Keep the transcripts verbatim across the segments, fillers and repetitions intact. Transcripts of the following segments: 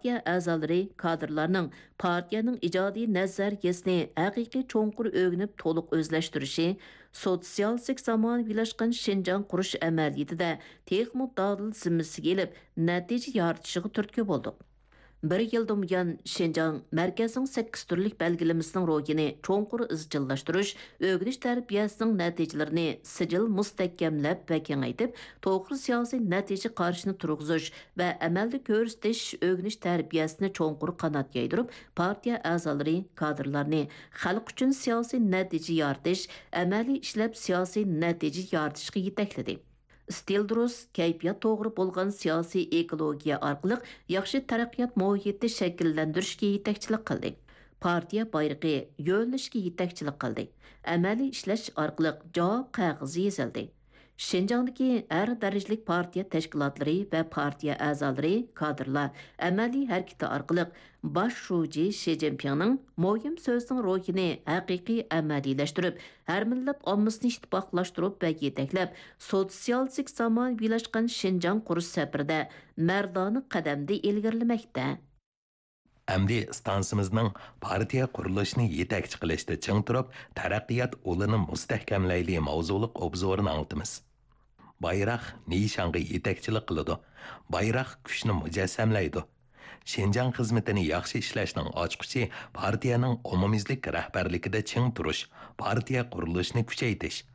پارتىيە ئەزالىرى، كادىرلارنىڭ پارتىيەنىڭ ئىجادىي نەزەرىيەسىنى ھەقىقىي چوڭقۇر ئۆگىنىپ، تولۇق ئۆزلەشتۈرۈشى، سوتسىيالىستىك زامانىۋىلاشقان شىنجاڭ قۇرۇش ئەمەلىيىتىدە تېخىمۇ دادىل زىممىسىگە ئېلىپ، نەتىجە يارىتىشىغا تۈرتكە بولدۇق. بىر يىلدىن بۇيان، شىنجاڭ مەركەزنىڭ سەككىز تۈرلۈك بەلگىلىمىسىنىڭ روھىنى چوڭقۇر ئىزچىللاشتۇرۇش، ئۆگىنىش تەربىيەسىنىڭ نەتىجىلىرىنى سىجىل مۇستەھكەملەپ ۋە كېڭەيتىپ، توغرا سىياسىي نەتىجە قارىشىنى تۇرغۇزۇش ۋە ئەمەلدە كۆرسىتىش، ئۆگىنىش تەربىيەسىنى چوڭقۇر قانات يايدۇرۇپ، پارتىيە ئەزالىرى، كادىرلارنى خەلق ئۈچۈن سىياسىي نەتىجە يارىتىش، ئەمەلىي ئىشلەپ سىياسىي نەتىجە يارىتىشقا يېتەكلىدى. ئىستىل دۇرۇس، كەيپىيات توغرا بولغان سىياسىي ئېكولوگىيە ئارقىلىق ياخشى تەرەققىيات مۇھىتى شەكىللەندۈرۈشكە يېتەكچىلىك قىلدى. پارتىيە بايرىقى، يۆنىلىشكە يېتەكچىلىك قىلدى. ئەمەلىي ئىشلەش ئارقىلىق جاۋاب قەغىزى يېزىلدى. شىنجاڭدىكى ھەر دەرىجىلىك پارتىيە تەشكىلاتلىرى ۋە پارتىيە ئەزالىرى، كادىرلار ئەمەلىي ھەرىكىتى ئارقىلىق باش شۇجى شى جىنپىڭنىڭ مۇھىم سۆزىنىڭ روھىنى ھەقىقىي ئەمەلىيلەشتۈرۈپ، ھەر مىللەت ئاممىسىنى ئىتتىپاقلاشتۇرۇپ ۋە يېتەكلەپ، سوتسىيالىستىك زامانىۋىلاشقان شىنجاڭ قۇرۇش سەپىرىدە مەردانە قەدەمدە ئىلگىرىلىمەكتە. ئەمدى ئىستانسىمىزنىڭ پارتىيە قۇرۇلۇشىنى يېتەكچى قىلىشتا چىڭ تۇرۇپ، تەرەققىيات ئۇلىنى مۇستەھكەملەيلى ماۋزۇلۇق ئوبزورىنى ئاڭلىتىمىز. بايراق نىشانغا يېتەكچىلىك قىلىدۇ. بايراق كۈچنى مۇجەسسەملەيدۇ. شىنجاڭ خىزمىتىنى ياخشى ئىشلەشنىڭ ئاچقۇچى پارتىيەنىڭ ئومۇميۈزلۈك رەھبەرلىكىدە چىڭ تۇرۇش، پارتىيە قۇرۇلۇشىنى كۈچەيتىش،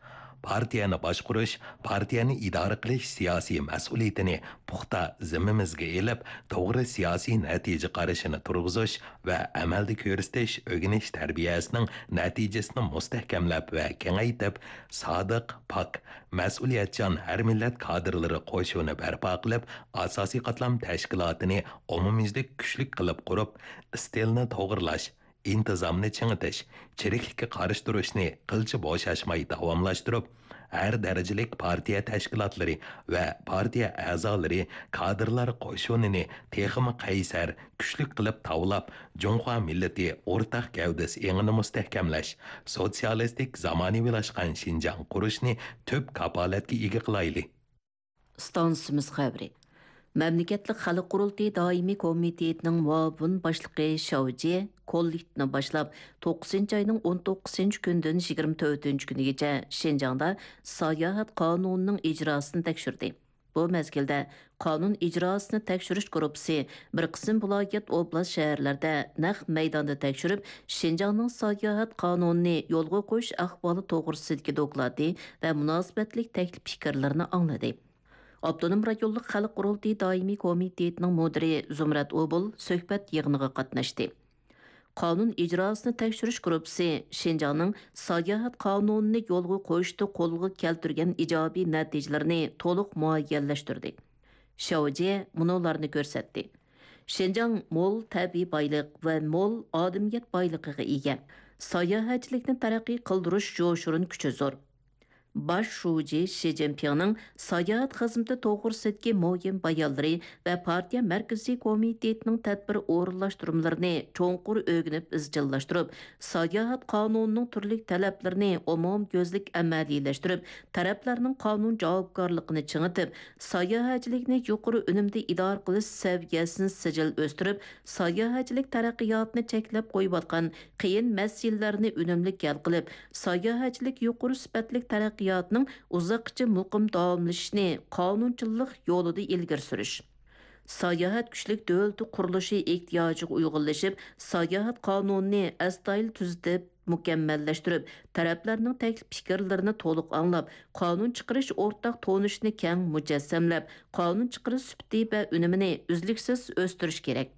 پارتىيەنى باشقۇرۇش، پارتىيەنى ئىدارە قىلىش سىياسىي مەسئۇلىيىتىنى پۇختا زىممىمىزگە ئېلىپ، توغرا سىياسىي نەتىجە قارىشىنى تۇرغۇزۇش ۋە ئەمەلدە كۆرسىتىش ئۆگىنىش تەربىيەسىنىڭ نەتىجىسىنى مۇستەھكەملەپ ۋە كېڭەيتىپ، سادىق، پاك، مەسئۇلىيەتچان ھەر مىللەت كادىرلىرى قوشۇنى بەرپا قىلىپ، ئاساسىي قاتلام تەشكىلاتىنى ئومۇميۈزلۈك كۈچلۈك قىلىپ قۇرۇپ، ئىستىلنى توغرىلاش، ئىنتىزامنى چىڭىتىش، چىرىكلىككە قارشى تۇرۇشنى قىلچە بوشاشماي داۋاملاشتۇرۇپ، ھەر دەرىجىلىك پارتىيە تەشكىلاتلىرى ۋە پارتىيە ئەزالىرى، كادىرلار قوشۇنىنى تېخىمۇ قەيسەر، كۈچلۈك قىلىپ تاۋلاپ، جۇڭخۇا مىللىتى ئورتاق گەۋدىسى ئېڭىنى مۇستەھكەملەش، سوتسىيالىستىك زامانىۋىلاشقان شىنجاڭ قۇرۇشنى تۈپ كاپالەتكە ئىگە قىلايلى. ئىستانسىمىز خەۋىرى. مەملىكەتلىك خەلق قۇرۇلتىيى دائىمىي كومىتېتىنىڭ مۇئاۋىن باشلىقى شاۋ جيې كوللېكتىپنى باشلاپ، توققۇزىنچى ئاينىڭ ئون توققۇزىنچى كۈنىدىن يىگىرمە تۆتىنچى كۈنىگىچە شىنجاڭدا ساياھەت قانۇنىنىڭ ئىجراسىنى تەكشۈردى. بۇ مەزگىلدە قانۇن ئىجراسىنى تەكشۈرۈش گۇرۇپپىسى بىر قىسىم ۋىلايەت، ئوبلاست، شەھەرلەردە نەق مەيداندا تەكشۈرۈپ، شىنجاڭنىڭ ساياھەت قانۇنىنى يولغا قويۇش ئەھۋالى توغرىسىدىكى دوكلاتى ۋە مۇناسىۋەتلىك تەكلىپ پىكىرلىرىنى ئاڭلىدى. ئاپتونوم رايونلۇق خەلق قۇرۇلتىيى دائىمىي كومىتېتىنىڭ مۇدىرى زۇمرەت ئوبۇل سۆھبەت يىغىنىغا قاتناشتى. قانۇن ئىجراسىنى تەكشۈرۈش گۇرۇپپىسى شىنجاڭنىڭ ساياھەت قانۇنىنى يولغا قويۇشتا قولغا كەلتۈرگەن ئىجابىي نەتىجىلىرىنى تولۇق مۇئەييەنلەشتۈردى. شاۋ جيې مۇنۇلارنى كۆرسەتتى. شىنجاڭ مول تەبىئىي بايلىق ۋە مول ئادەمىيەت بايلىقىغا ئىگە. ساياھەتچىلىكنى تەرەققىي قىلدۇرۇش يوشۇرۇن كۈچى زور. باش شۇجى شى جىنپىڭنىڭ ساياھەت خىزمىتى توغرىسىدىكى مۇھىم بايانلىرى ۋە پارتىيە مەركىزىي كومىتېتىنىڭ تەدبىر ئورۇنلاشتۇرمىلىرىنى چوڭقۇر ئۆگىنىپ ئىزچىللاشتۇرۇپ، ساياھەت قانۇنىنىڭ تۈرلۈك تەلەپلىرىنى ئومۇميۈزلۈك ئەمەلىيلەشتۈرۈپ، تەرەپلەرنىڭ قانۇن جاۋابكارلىقىنى چىڭىتىپ، ساياھەتچىلىكنى يۇقىرى ئۈنۈمدە ئىدارە قىلىش سەۋىيەسىنى سىجىل ئۆستۈرۈپ، ساياھەتچىلىك تەرەققىياتىنى چەكلەپ قويۇۋاتقان قىيىن مەسىلىلەرنى ئۈنۈملۈك ھەل قىلىپ، ساياھەتچىلىك يۇقىرى سۈپەتلىك تەرەققىياتىنىڭ ئۇزاققىچە مۇقىم داۋاملىشىشىنى قانۇنچىلىق يولىدا ئىلگىرى سۈرۈش. ساياھەت كۈچلۈك دۆلىتى قۇرۇلۇشى ئېھتىياجىغا ئۇيغۇنلىشىپ، ساياھەت قانۇنىنى ئەستايىدىل تۈزىتىپ، مۇكەممەللەشتۈرۈپ، تەرەپلەرنىڭ تەكلىپ پىكىرلىرىنى تولۇق ئاڭلاپ، قانۇن چىقىرىش ئورتاق تونۇشىنى كەڭ مۇجەسسەملەپ، قانۇن چىقىرىش سۈپىتى ۋە ئۈنۈمىنى ئۈزلۈكسىز ئۆستۈرۈش كېرەك.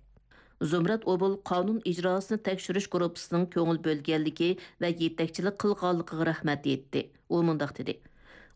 زۇمرەت ئوبۇل قانۇن ئىجراسىنى تەكشۈرۈش گۇرۇپپىسىنىڭ كۆڭۈل بۆلگەنلىكى ۋە يېتەكچىلىك قىلغانلىقىغا رەھمەت ئېيتتى. ئۇ مۇنداق دېدى: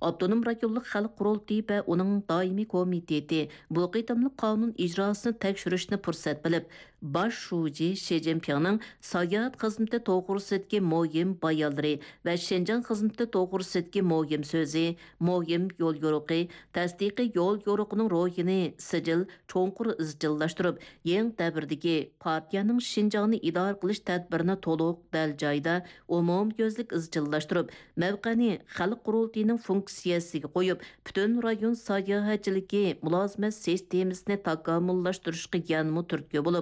ئاپتونوم رايونلۇق خەلق قۇرۇلتىيى ۋە ئۇنىڭ دائىمىي كومىتېتى بۇ قېتىملىق قانۇن ئىجراسىنى تەكشۈرۈشنى پۇرسەت بىلىپ، باش شۇجى شى جىنپىڭنىڭ ساياھەت خىزمىتى توغرىسىدىكى مۇھىم بايانلىرى ۋە شىنجاڭ خىزمىتى توغرىسىدىكى مۇھىم سۆزى، مۇھىم يوليورۇقى، تەستىقىي يوليورۇقىنىڭ روھىنى سىجىل، چوڭقۇر ئىزچىللاشتۇرۇپ، يېڭى دەۋردىكى پارتىيەنىڭ شىنجاڭنى ئىدارە قىلىش تەدبىرىنى تولۇق، دەل جايىدا، ئومۇميۈزلۈك ئىزچىللاشتۇرۇپ، مەۋقەنى خەلق قۇرۇلتىيىنىڭ فۇنكسىيەسىگە قويۇپ، پۈتۈن رايون ساياھەتچىلىكى مۇلازىمەت سىستېمىسىنى تاكامۇللاشتۇرۇشقا يەنىمۇ تۈرتكە بولۇپ،